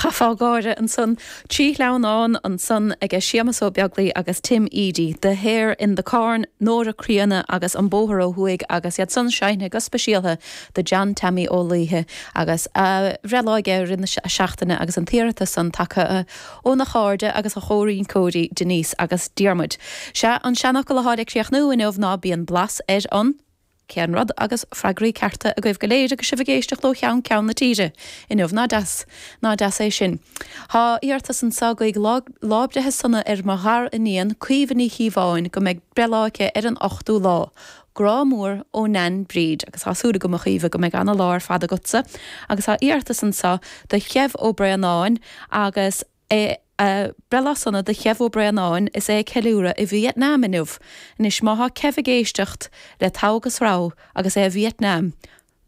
Chaithfeá gáire ansan. 3 shleamhnán ansan aige Séamus Ó Beaglaoi agus Tim Edey, The Hare in the Corn, Nóra Críonna agus An Bóthar Ó Thuaidh agus iad san seinnithe go speisialtha do John Teaimí Ó Laoithe agus a bhreithlá aige i rith na seachtaine agus an t-iarratas san tagtha óna chairde agus a chomhrinceoirí Denise agus Diarmuid. Sea, an seanfhocal atá le críochnú inniu ná bíonn blas ar an. Cén rud? Agus freagraí cearta agaibh go léir agus sibh ag éisteacht ó cheann ceann na tíre inniu. Ná deas, ná deas é sin. Tá iarratas anseo guígh lá, lá breithe sona ar mo ghar-iníon, Caoimhe Ní Chíobháin, go mbeidh breithlá aici ar an ochtú lá. Grá mór ó Nain Bríd. Agus tá súil agam, a Chaoimhe, go mbeidh ana-lá ar fad agatsa. Agus tá iarratas anseo do Chev Ó Braonáin agus é Breithlá sona do Chev Ó Braonáin is é ag ceiliúradh i Vietnam inniu. Anois má thá Kev ag éisteacht le togha agus rogha agus é i Vietnam.